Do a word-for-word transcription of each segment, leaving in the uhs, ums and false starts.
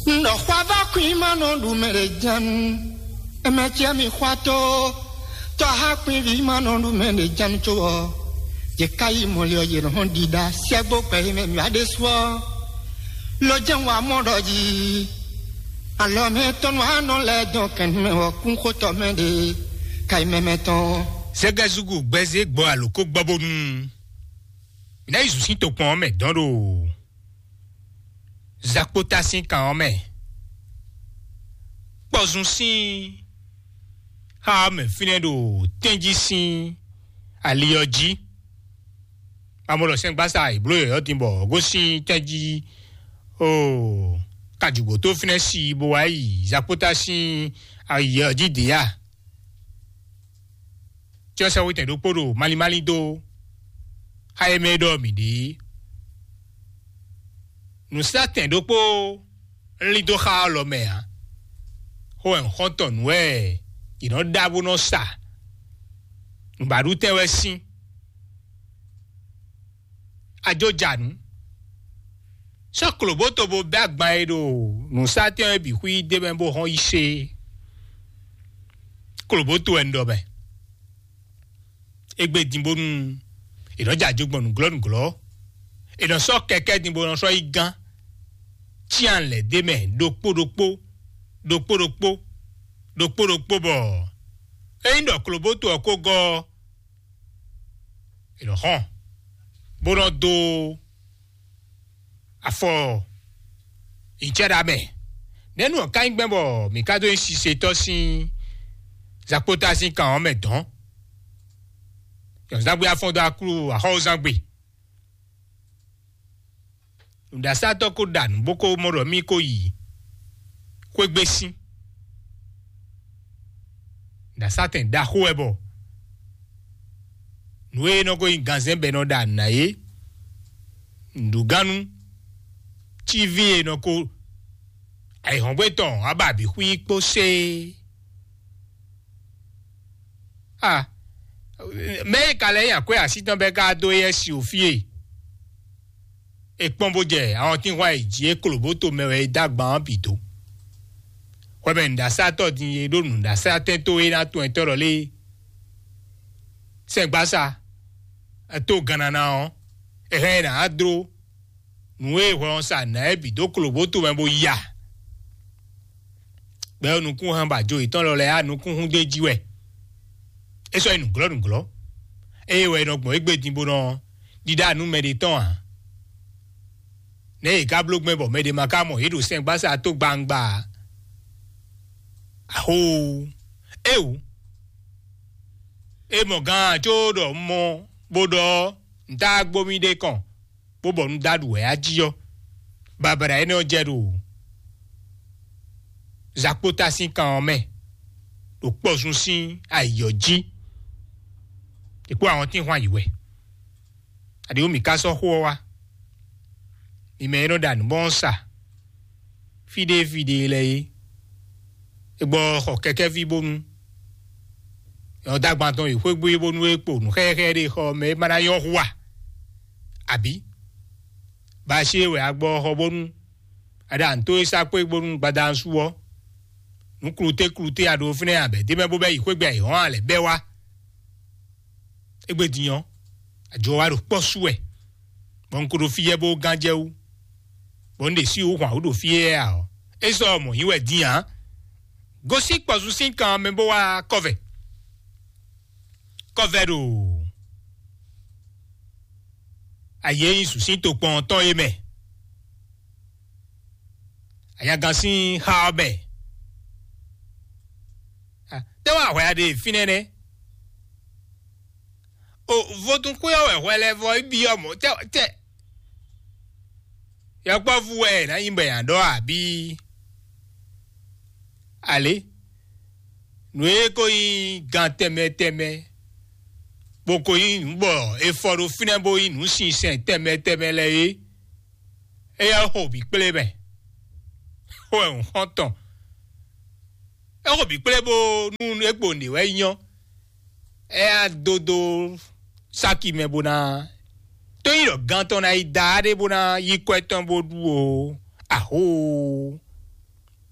Un ɖɔ xwa vá kwín ma nɔ ɖu mɛ ɖe jɛ́n. Ɛmɛ cɛ mi xwa tó. Tɔ́ há kwín ví ma nɔ ɖu mɛ ɖe jɛ́n có ɔ́. Yě ká yi mɔlɛ ɔ́, yě nɔ hɔn ɖiɖa sɛgbó gbɛ yi mɛ mǐ wá ɖésú ɔ́. Lo jɛ́n wa mɔ ɖɔ jí. Alɔ mɛ tɔnu anɔ lɛ dɔn kɛn mɛ wɔ kún xótɔ mɛ ɖe. Ka yi mɛ mɛ tɔn. Zɛgɛzugu gbɛzé gbɔ aloko gbɔ bónú. Mǐ ná yi zǔ sín tokpɔn ɔ́ mɛ dɔn ɖo. Zakpota sín kan ɔ́ mɛ. Kpɔzun sín xá ɔ́ mɛ fínɛ́ ɖo tɛ́njí sín ali ɔ́ jí. Amɔ̌ ɖɔ sɛ́ngbásá è blǒ yɔ̌yɔ́ din bɔ gosín tɛ́njí ó kajǔgbǒtó fínɛ́ sí bó wá yi Zakpota sín ali ɔ́ jí dě a? Cyɔ́sɛ́wítɛn ɖokpó ɖo malín málín dó xá e mɛ e ɖɔ mǐ ɖe é. Nǔsatɛn ɖokpó lín dó xá ɔ́ lɔ mɛ ǎ. Xó wɛ un xɔ́n tɔn nǔ wɛ yě nɔ ɖa bó nɔ sa. Nǔbaɖutɛn wɛ sín. Ajo ja nǔ. Sɔ́ klǒbóto bó bɛ́ agban e ɖo nǔsatɛn e bǐ xwí d'é mɛ bó hɔn yi se. Klǒbóto wɛ un ɖɔ mɛ. Égbé din bónú è nɔ jɛ ajo gbɔn nǔglɔ́ nǔglɔ́. È nɔ sɔ́ kɛkɛ́ din bó nɔ sɔ́ yi gán. Cyán lɛ̌ d'é mɛ ɖokpó ɖokpó, ɖokpó ɖokpó, ɖokpó ɖokpó bɔ ényí ɖɔ klobóto ɔ́ ko gɔ́ ɔ́, è nɔ xɔ́n, bó nɔ dó afɔ nyicɛ́ɖamɛ. Nɛ̌nu ɔ́ ka nyí gbɛn bɔ mǐ ka dó nyí sisetɔ́ sín zakpota sín kan ɔ́ mɛ dɔn? Yɔ̌nzángbe afɔn dó aklú axɔ́wúzángbe. Nǔɖasátɔ́ ko ɖa nǔ bó ko mɔ ɖɔ mì ko yi xwégbé sín. Nǔɖasátɛn ɖaxó wɛ bɔ nǔ e nɔ ko nyí ganzɛ́n bɔ è nɔ ɖa nǔ ná é, nǔɖugánu, cíví e nɔ ko ayǐhɔ́ngbe tɔn wá ba bǐ xwí kpó séé. Ah, mɛ e ka lɛ́ nyi akwɛ́ así tɔn bɛ́ ka dó éyɛ́ si o fí e è kpɔ́n bó jɛ awɔntínhwan e jǐ é klobóto mɛ wɛ é dó agban ɔ́ bǐ dó. Hwɛmɛ nǔɖasátɔ́ din e ɖó nǔɖasátɛ́n tó é ná tɔn ɛtɔ́ ɖɔ lé sɛ́ngbásá tó gannana ɔ́, è hɛn ɛ nǎ dló nǔ e hwɛ ɔ́ sa nǎ é bǐ dó klobóto mɛ bó ya. Gbɛ ɔ́ nukún hɛn ba jo yětɔn lɔ lɛ́ɛ á nukún hún d'é jí wɛ. É sɔ́ nyí nǔglɔ́ nǔglɔ́. Ée wɛ è nɔ gbɔn égbé din bó nɔ ɖiɖa nú mɛɖé tɔn ǎ. Nɛ̌ yě ká bló gbɛn bɔ mɛɖé ma ka mɔ yě ɖo sɛngbásá tó gbangba ǎ? Axóo! Éeǒ! É mɔ gán có ɖɔ un mɔ bó ɖɔ ɔ́, un tá gbó mì ɖe kɔn, bó bɔ nǔ dó aɖu wɛ á jí ɔ́, babada énɛ́ ɔ́ jɛ ɖo zakpóta sín kan ɔ́ mɛ, ɖo kpɔzun sín ayǐ ɔ́ jí. È kpó awɔntín hwan yǐ wɛ. Aɖěwú mǐ ka sɔ́ xó ɔ́ wá. Mi mɛ e nɔ ɖo anǔ bɔ ɔ́ sa fí ɖé fí ɖé lɛ́ɛ é. É gbɔ xɔ kɛkɛ́ví bónú nyɔ̌dagban tɔn yi xwégbé bónú é kpo nǔ xɛxɛ ɖé xɔ mɛ é ma ná nyɔ́ hu a? Abǐ? Baṣé wɛ a gbɔ xɔ bónú a ɖo anǔ tó é sá kpé bónú gbadanu su ɔ́, nǔ kluté kluté a ɖo fínɛ́ abɛ d'é mɛ bó bɛ́ yi xwégbé ayǐ hɔ́n a lɛ̌ bɛ́ wá? Égbé din ɔ́, ajɔ wa ɖo kpɔ́ sú wɛ, bɔ un ko ɖo fí yɛ bó gán jɛ wú, bɔ un ɖe sí wǔ hwan wǔ ɖo fí éyɛ́ ǎ ɔ́, é sɔ́ mɔ̌ nyí wɛ din ǎ. Gosín kpɔzun sín kan mɛ bó wá kɔ́vɛ. Kɔ́vɛ ɖo ayě nyi sǔsín tokpɔn tɔn é mɛ. Anyagan sín xá ɔ́ mɛ. Tɛ́ wá hwɛ a ɖe fínɛ́ nɛ́? O vodúnxwé ɔ́ wɛ hwɛ lɛ́ɛ vɔ é byɔ́ mɔ̌ tɛ́ tɛ́. Yɔkpɔ́vú wɛ è nǎ nyí bɔ è nǎ ɖɔ abǐ? Alě, nǔ e ko nyí gan tɛnmɛ tɛnmɛ, bó ko nyí nǔ bɔ è fɔ ɖo fínɛ́ bó nyí nǔ sinsɛn tɛnmɛ tɛnmɛ lɛ́ɛ é, éyɛ́ xo bǐ kplé mɛ. Xó wɛ un xɔ́n tɔn. É xo bǐ kplé bó nú é kpo nǔ wɛ nyɔ́. É ná dó dó sáki mɛ bó ná tó nyí ɖɔ gan tɔn ná yi da ɖé bó ná yí kwɛ́ tɔn bó ɖu o. Ahoo!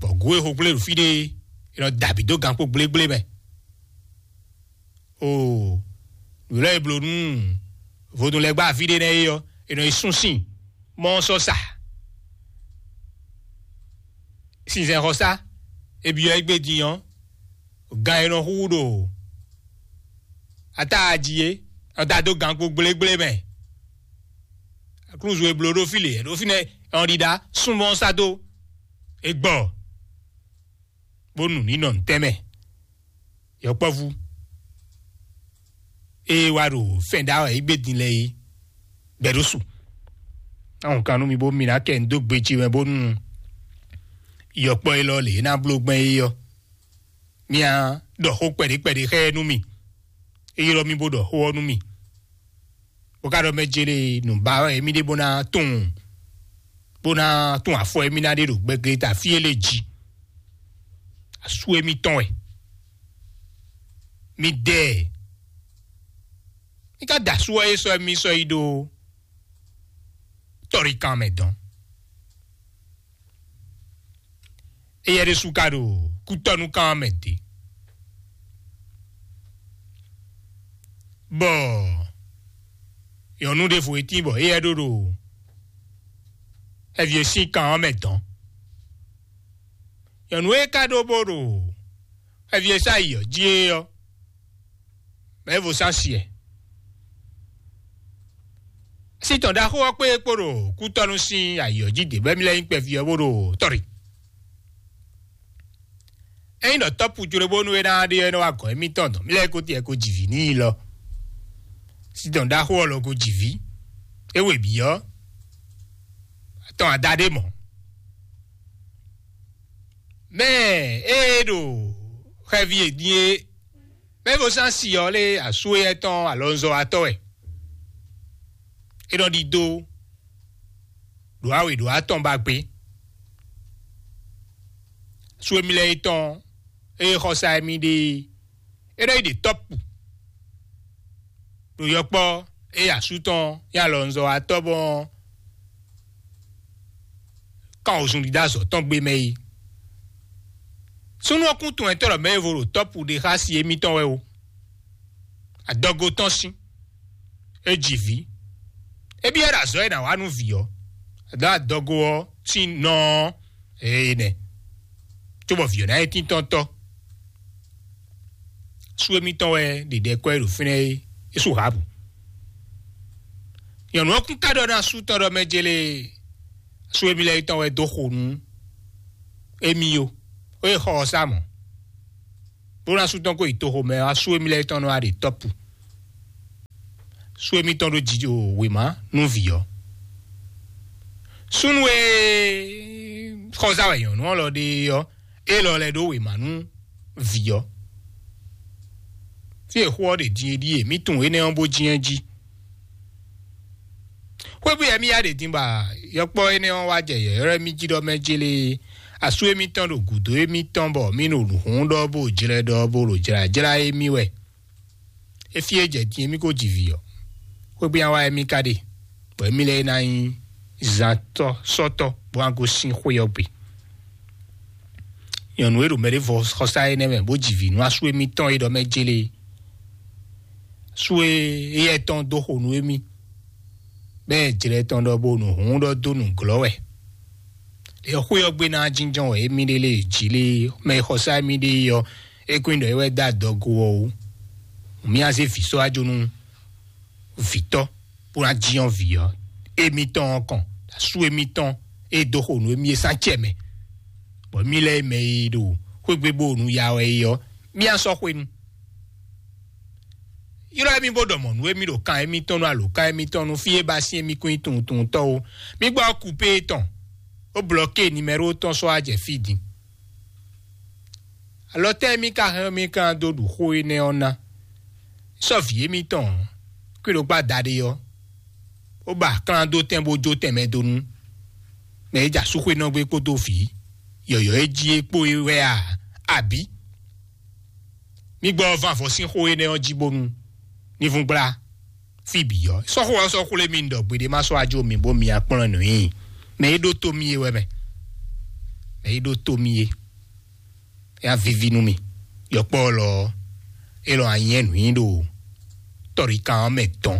Bɔ gǔ e xo gblé ɖo fí ɖé é, è nɔ da bǐ dó gankpó gblégblémɛ. Oo, nǔ lɛ́ɛ e bló nú vodún lɛ́ɛ gbá fí ɖé nɛ́ é ɔ́, è nɔ yi sún sín mɔ ɔ́ sɔ́ sa. Sinsɛnxɔsá e byɔ́ égbé din ɔ́, gan e nɔ xúxú ɖo atáa jí é, nɔ da dó gankpó gblégblémɛ. Aklúzu e bló ɖó fí lě, ɖó fínɛ́ ɔn ɖiɖa súnmọ́ sá dó e gbɔ, bónú ní nɔ nǔtɛ́ mɛ. Yɔkpɔ́vú e wá ɖo fɛn ɖá wɛ é gbé din lɛ́ɛ é gbɛ ɖó su. Ahùn kan nú mi bó mi ná kɛ ń dó gbe ce mɛ bónú yɔkpɔ́ élɔ́ lě é ná bló gbɛn é ɔ́, mi á ɖɔ xó kpɛɖé kpɛɖé xá ɛ nú mì. É ylɔ́ mì bó ɖɔ xó ɔ́ nú mì. Bó ka ɖɔ mɛ jele nǔ ba wɛ émí ɖe bó ná tunwun, bó ná tunwun afɔ émí ná ɖe ɖo gbɛglé ta fí e lé jí. Asú émí tɔn wɛ. Mi dɛ ɛ. Mi ka da asú ɔ́ é sɔ́ émí sɔ́ yi ɖó tɔ́ɖikan mɛ dɔn. Éyɛ́ ɖésú ka ɖo kútɔ́núkan mɛ dě. Bɔ nyɔ̌nu ɖěvo e tín bɔ éyɛ́ ɖó ɖo xɛví e sín kan ɔ́ mɛ dɔn. Nyɔ̌nu e ka ɖó bó ɖo xɛví e sá yi ɔ́ jí é ɔ́, mɛ̌ vo sán si ɛ? Sítɔn ɖaxó ɔ́ kpé kpó ɖo kútɔ́nú sín ayǐ ɔ́ jí dě bɔ émí lɛ́ nyí kpɛví ɔ́ bó ɖo tɔ́ ɖe. Ényí ɖɔ tɔ́pujló bónú é ná ɖe ɔ́, é nɔ wá gɔ̌n émítɔn dɔn mí lɛ́ɛ ko tiɛ ko jǐ vǐ n'i lɔ. Sítɔn ɖaxó ɔ́ lɔ ko jǐ vǐ. É we bǐ ɔ́, tɔn ada ɖé mɔ̌. Mɛ e ɖo xɛví e din é, mɛ e vo sán si ɔ́ lé asú éyɛ́ tɔn alɔnzɔ́watɔ́ wɛ. É nɔ ɖidó ɖo awe ɖo atɔn ba gbé. Asú émí lɛ́ɛ é tɔn ée xɔsá émí ɖe é nɔ yi ɖe tɔ́pu ɖo yɔkpɔ́ ée asú tɔn nyí alɔnzɔ́watɔ́ bɔ kán wozun ɖiɖe azɔ̌ tɔn gbé mɛ é. Súnnu ɔ́ kún tunwun tɔ́ ɖɔ mɛ e vo ɖo tɔ́pu ɖe xá si émítɔn wɛ ó. Adɔgo tɔn sín é ji vǐ. É byɔ́ ɖo azɔ̌ e nǎ wa nú vǐ ɔ́, adɔgo ɔ́ sín nɔ ɔ́, ee nɛ, cóbɔ vǐ ɔ́ ná nyí tíntɔ́ntɔ́. Sú émítɔn wɛ ɖe ɖɛ kɔ́ ɛ ɖo fínɛ́ é, é sú hǎbǔ. Nyɔ̌nu ɔ́ kún ka ɖɔ ná sú tɔn ɖɔ mɛ jélé sú émí lɛ́ɛ tɔn wɛ dó xo nú émí ó, ó e xɔ ɔ́ sá mɔ̌. Bó ná sú tɔn kó yi toxo mɛ ɔ́, sú émí lɛ́ɛ tɔn nɔ wá ɖe tɔ́pu. Sú émítɔn ɖó jǐ ɖo wěma nú vǐ ɔ́. Súnnu e xɔzá wɛ nyɔ̌nu ɔ́ lɔ ɖe ɔ́, é lɔ lɛ́ ɖó wěma nú vǐ ɔ́. Tí è xó ɔ́ ɖě din é ɖíe, mǐ tunwun énɛ́ ɔ́ bó jínjɔ́n jí. Xwégbé yɛ mì ya ɖě din bɔ yɔkpɔ́ énɛ́ ɔ́ wá jɛ yɔ̌yɔ́ mì jí ɖɔ mɛ jélé asú émítɔn ɖo gǔdo émítɔn bɔ mì ɖo nǔ hún ɖɔ bó jlɛ́ ɖɔ bó ɖo jlǎjlá émí wɛ. É fí é jɛ din émí ko ji vǐ ɔ́, xwégbé ya wá émí ka ɖe, bɔ émí lɛ́ɛ ná nyí zantɔ́ sɔ́tɔ́ bó wá gosín xwé ɔ́ gbe. Nyɔ̌nu e ɖo mɛ ɖé vɔ xɔsá énɛ́ mɛ bó ji vǐ nú asú émítɔn e ɖɔ mɛ jélé é. Sú e éyɛ́ tɔn dó xo nú émí, bɔ é jlɛ́ tɔn ɖɔ bó nǔ hún ɖɔ dó nǔglɔ́ wɛ. Lě xwé ɔ́ gbe ná jínjɔ́n wɛ émí ɖe lé jǐ lé mɛ e xɔsá émí ɖe é ɔ́, é kún ɖɔ é wɛ dó adɔgo ɔ́ ó. Mǐ á zé vǐ sɔ́ wá jó nú vǐtɔ́ bó ná jínjɔ́n vǐ ɔ́ émítɔn ɔ́ kɔn, asú émítɔn e dó xo nǔ émí é sán acɛ mɛ, bɔ mì lɛ́ɛ mɛ e ɖo xwégbé bó nu ya wɛ é ɔ́, mì á sɔ́ xwenu. Ylɔ́ émí bó ɖɔ mɔ̌ nú émí ɖo kan émítɔn nú alǒkan émítɔn nú fí e ba sín émí kún nyí tunwuntunwuntɔ́ ó. Mì gbɔ kúpé tɔn, bó blɔ́ ké nimɛ́ro tɔn sɔ́ wá jɛ fí din. Alɔ tɛ́ émí ka hɛn émí kan dó ɖu xó énɛ́ ɔ́ ná? Sɔ́ vǐ émítɔn kwíɖokpá daɖé ɔ́, bó ba klán dó tɛn bó jó tɛnmɛ dó nú mɛ e jɛ asúxwénɔgbé kpódó vǐ yɔ̌yɔ́ e jí é kpó é wɛ a? Abǐ? Mì gbɔ van avɔ sín xó énɛ́ ɔ́ jí bónú ní vún gbla fí bǐ ɔ́. Sɔ́xo ɔ́ sɔ́ xwlé mì ɖɔ gbeɖé má sɔ́ ajo mì bó mi akplɔ́n nǔ nyi mɛ e ɖó tó mì é wɛ mɛ. Mɛ e ɖó tó mì é. É ná víví nú mì. Yɔkpɔ́ lɔ ɔ́, é lɔ anyɛ́ nǔ nyi ɖo tɔ́ɖikan ɔ́ mɛ dɔn.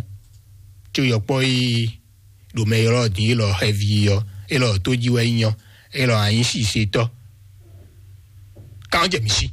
Có yɔkpɔ́ e ɖo mɛ ylɔ́ din é lɔ xɛví ɔ́, é lɔ tó jí wɛ nyí ɔ́, é lɔ anyí sisetɔ́. Kan jɛ mì sí.